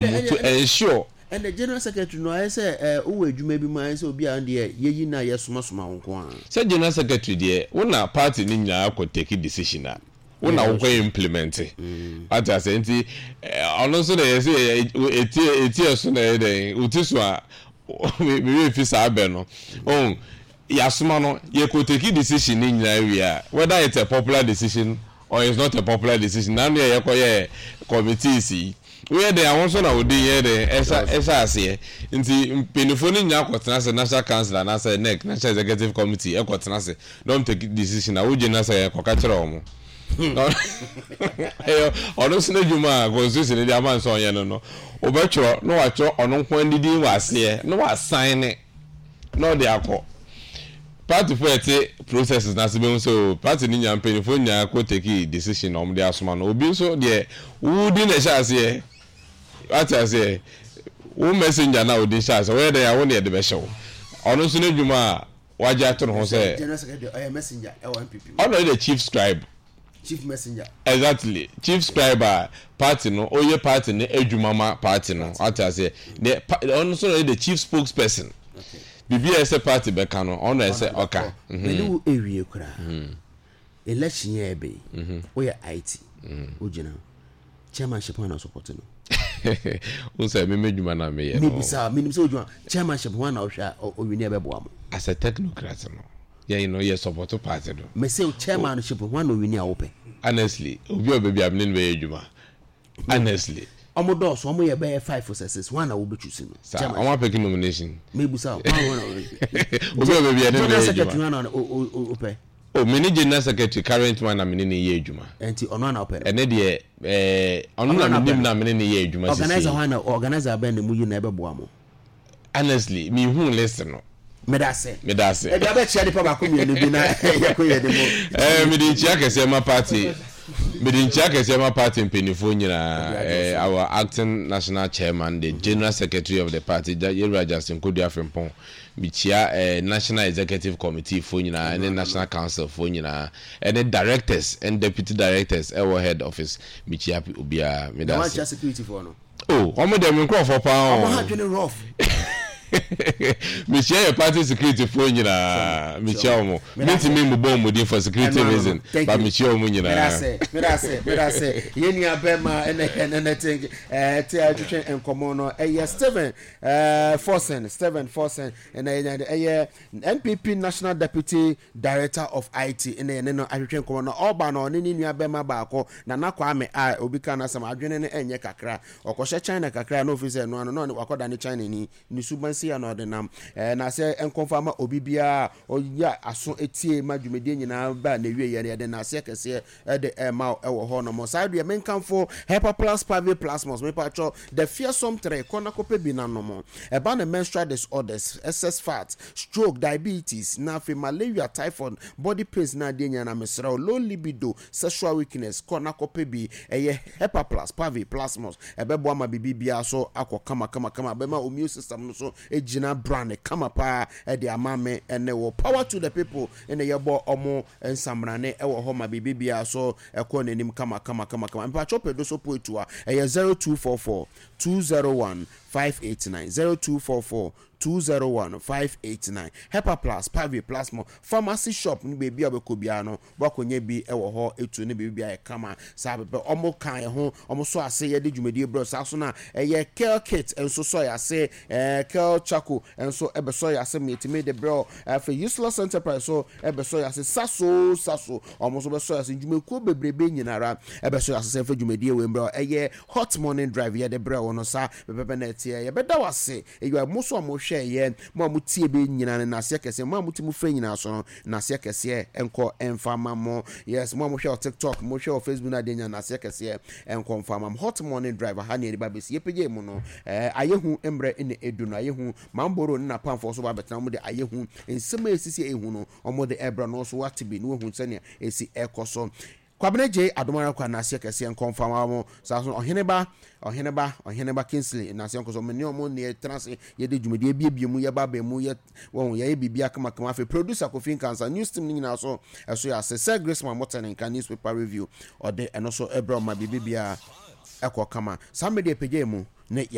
mu to ensure. Ɛnna general secretary no ayɛ sɛ ɛɛ wowɔ adwuma bi mu ayɛ sɛ obi a deɛ yɛyi na yɛsomasoma wo nko ara. Sɛ general secretary deɛ wo na party no nyinaa kɔ take decision a wo na wokɔ implement wate aseɛ nti ɔno nso na yɛsɛ ɛti ɛti ɛso na ɛyɛ dɛn wo ti so a me werɛ fi saa bɛ no oh yɛasoma no yɛkɔ take decision no nyinaa wie a whether it's a popular decision or it's not a popular decision na ano yɛ yɛkɔ yɛ committees yi woyɛ dɛn a wo nso na wo din yɛ dɛn ɛhyɛ ɛhyɛ aseɛ nti mpanyinfoɔ no nyinaa kɔtena ase national council anaasɛ nec national executive committee ɛkɔtena ase na wɔn take decision a wo gyina sɛ kɔka kyerɛ wɔn ɛyɛ ɔno nso n'adwuma a constitution no de ama nso ɔnyɛ no no wɔbɛtwerɛ na watwerɛ ɔno nko ara ne din wɔ aseɛ na wasan ne na ɔde akɔ. Party foɔ a ɛte processes no ase bɛhu sɛ oh party no nyinaa mpaninfoɔ nyinaa kɔ take decision na wɔde asoma no. Obi nso deɛ wo din na ɛhyɛ aseɛ. Wate aseɛ? Wo messenger no a wo din hyɛ aseɛ woyɛ dɛn a wo na yɛde bɛhyɛ wo. Ɔno nso n'adwuma a wagye ato ne ho sɛ. General secretary ɔyɛ messenger ɛwɔ NPP mu. Ɔno yɛ the chief scribe. Chief messenger. Exactly chief scribe a party no ɔyɛ party no adwuma ma party no wate aseɛ ne pa ɔno nso na ɔyɛ the chief spokesperson biribi a ɛsɛ party bɛka no ɔno na ɛsɛ ɔka. Me ne wo ewie koraa election yɛ ɛbɛ yi woyɛ IT wogyina chairmanship hwan na support no. Wo sɛ me m'adwuma na meyɛ no. Mebisa menim sɛ wodwuma chairmanship hwan na wohwɛ a ɔwini ɛbɛboa mo. As a technocrat no. Yɛn no yɛ support party no. Me se chairmanship hwan na owini a wopɛ. Honestly obi a ɔbɛ bia me ne no bɛyɛ adwuma honestly. Ɔmo dɔɔso ɔmo yɛ bɛyɛ 5 sɛ 6 hwan na wo bɛ choose no. Saa ɔmo apɛki nomination. Me busa wo hwan na wo. Obi a ɔbɛ bia ne no bɛyɛ adwuma. General secretary hwan na wopɛ. Oh me ne general secretary current one na me ne no yɛ adwuma. Ɛnti ɔno a na wopɛ no. Ɛne deɛ ɛɛ ɔno na me nim na me ne no yɛ adwuma sisi. Organizer hwan na organizer bɛn na mu yi na ɛbɛboa mo. Honestly, me hu list no. Medase. Medase. Ebi abɛkyia nipa baako mmienu bi na yɛkɔ yɛ de mu. Eh, mede nkyia kɛseɛ ma party. Mede nkyia kɛseɛ ma party mpanimfoɔ nyinaa. Eh, our acting national chairman, the general secretary of the party, Yɛwura Justin Kodua Frimpong. Mekyia eh, national executive committee foɔ nyinaa, ɛne national council foɔ nyinaa, ɛne directors and deputy directors ɛwɔ head office. Mekyia obiara. Medase. Na wankyia security foɔ no? Oh, wɔn deɛ me nkurɔfoɔ paa o. Wɔn ha dwene rough. Mekyia yɛ party security foɔ nyinaa. Mekyia wɔn. Mentumi mmobɔ wɔn din for security reason, but mekyia wɔn nyinaa. Medase, medase, medase. Yɛn nua bɛrima ɛna ɛna ɛna te ɛɛ te atwetwe nkɔmɔ no ɛyɛ Stephen ɛɛ Forson, Stephen Forson ɛna yɛn ɛyɛ NPP National Deputy Director of IT na yɛne no ahwehwɛ nkɔmmɔ na ɔreba no ɔne ne nua bɛma baako Nana Kwame a obi ka n'asɛm adwene no ɛnyɛ kakra ɔkɔhyɛ China kakra na ofiri sɛ ɛno ano na ɔne wakɔda ne China ni ne suban sei a na ɔde nam ɛɛ na sɛ nkɔmfa ma obi biara ɔyɛ aso etie ma dwumadie nyinaa ba na ewie yɛ no yɛde n'aseɛ kɛseɛ de rema wo wɔ hɔ nom. Saa deɛ menkamfo Hepa Plus Pavi Plasmos mepatwɔ the fearsome 3 kɔ na kɔpɛ bi na nom. Ɛba ne menstrual disorders, excess fat, stroke, diabetes, na afei malaria, typhoid, body pains na adeɛ nyinaa na mesrɛ wo low libido, sexual weakness kɔ na kɔpɛ bi. Ɛyɛ Hepa Plus Pavi Plasmos ɛbɛboa ma biribi biara so akɔ kama kama kama bɛma immune system no so gyina brane kama paa de ama me ne wo. Power to the people na yɛbɔ ɔmo nsamrane wɔ hɔ ma biribi biara so kɔ n'anim kama kama kama kama. Mpakyɛw pɛ doso poetu a, ɛyɛ 0244 201 589, 0244 201 589. Hepa Plus, Pavi, Plasmo, Pharmacy shop no baabi a wobɛkɔ biara no woakɔnya bi wɔ hɔ etu ne biribi biara yɛ kama saa pɛpɛ. Ɔmo ka yɛn ho, ɔmo sɔ ase yɛde dwumadie brɛ saa so na ɛyɛ Kel Kit nso sɔ yɛ ase, ɛɛ Kel Charcoal nso ɛbɛsɔ yɛ ase ma yɛtumi de brɛ wo. Afei Useless Enterprise nso bɛsɔ yɛn ase saso saso. Wɔn nso bɛsɔ yɛn ase. Ndwumakuo bebrebe nyinara bɛsɔ yɛn ase sɛ yɛmfa dwumadie wei mbrɛ wo. Ɛyɛ Hot Morning Drive yɛde brɛ wo no saa pɛpɛpɛ na ɛteɛ. Yɛbɛda wo ase. Eyi mo nso a mohwɛɛ yɛn, mo a motie bɛ nyinaa no nnaseɛ kɛseɛ. Mo a mote mo frɛ nyinaa so no nnaseɛ kɛseɛ nkɔ mfa ma mo. Yes, mo a mohwɛ wɔ TikTok, mohwɛ wɔ Facebook no adeɛ nyinaa nnaseɛ kɛseɛ nkɔ mfa ma mo. Hot Morning Drive aha ne yɛde ba bɛsi. Yɛpagya mu no, ɛɛ ayɛ hu mmerɛ na ɛdu no. Ayɛ hu. Mamboro ne n'apamfoɔ nso ba abɛtena, wɔde ayɛ hu. Nsɛm a ɛsisi a ɛyɛ hu no, wɔde rebrɛ no nso wate bi na wahu sɛnea ɛsi rekɔ so. Kwabena Gyei Adom ara kwa Nnaseɛ kɛseɛ nkɔ mfa ma mo. Saa nso Ɔheneba, Ɔheneba, Ɔheneba Kingsley Nnaseɛ nkɔ so. Me ne wɔn na yɛtena ase, yɛde dwumadie abiebie mu, yɛba abɛn mu, yɛ, wɔn, yɛyɛ biribiara kamakama. Afei producer Kofi Nkansah, news team no nyinaa nso ɛso yɛ ase. Sir Graceman Mote ne nka newspaper review, ɔde ɛno nso brɛ wɔn ma biribi biara ɛkɔ kama. Saa mmerɛ deɛ pagya mu. ne yɛ.